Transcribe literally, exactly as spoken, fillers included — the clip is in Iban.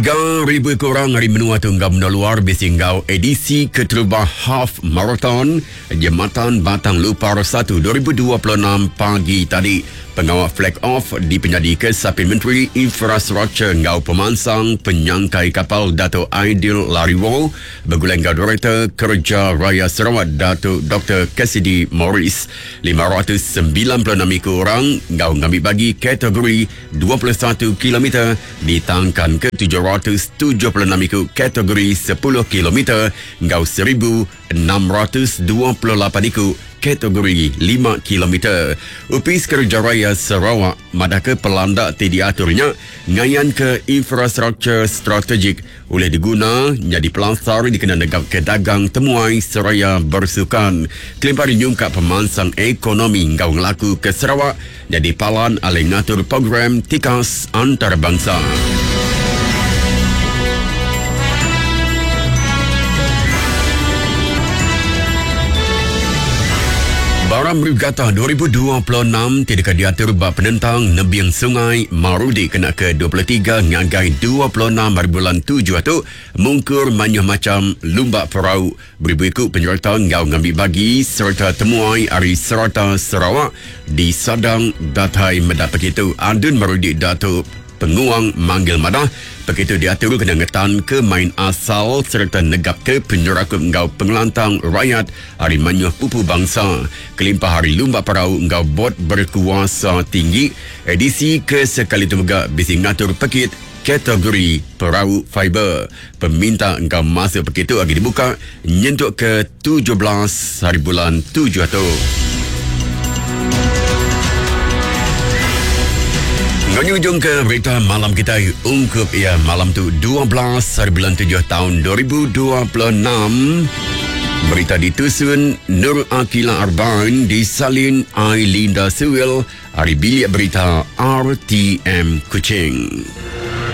Tiga ribu kurang hari menua tu enggau menua luar bisi enggau edisi keterubah Half Marathon Jematan Batang Lupar satu dua ribu dua puluh enam pagi tadi. Pengawal flag off dipenyadi ke Sapin Menteri Infrastruktur enggau Pemansang Penyangkai Kapal Dato' Aidil Lariwoo begulai enggau Direktor Kerja Raya Sarawak Dato' Doktor Cassidy Morris. lima ratus sembilan puluh enam ekor orang enggau ngambil bagi kategori dua puluh satu kilometer ditangkan ke tujuh ratus tujuh puluh enam ekor kategori sepuluh kilometer enggau seribu enam ratus dua puluh lapan ekor kategori lima kilometer. Upis Kerja Raya Sarawak madah ke pelandak ti diaturnya ngayan ke infrastruktur strategik oleh diguna jadi pelasar dikena negap ke dagang temuai seraya bersukan. Kelimpah nyungkap pemansang ekonomi ngau ngelaku ke Sarawak jadi palan alih ngatur program tikas antarabangsa. Baram Regatta dua ribu dua puluh enam tidak diatur bab penentang nebiang sungai Marudi kena ke dua puluh tiga ngagai dua puluh enam hari bulan tujuh tu mungkur manyuh macam lumba perau beribu ikut penyerta ngau ngambil bagi serta temuai ari serata Sarawak di Sadang Datai Medak begitu. Adun Marudi Datuk Penguang Manggil Madah begitu diatur kena ngetan ke main asal serta negap ke penyerakup ngau pengelantang rakyat hari manyuh pupu bangsa. Kelimpah hari lumba perau ngau bot berkuasa tinggi edisi ke sekali tu mega bisi ngatur pekit kategori perau fiber. Peminta engkau masuk begitu lagi dibuka nyentuk ke tujuh belas hari bulan tujuh tu. Menyujung ke berita malam kita ungkup ya malam tu dua belas hari bulan tujuh tahun dua ribu dua puluh enam. Berita ditusun Nur Akila Arbain, disalin Ailinda Sewil, hari bilik berita R T M Kuching.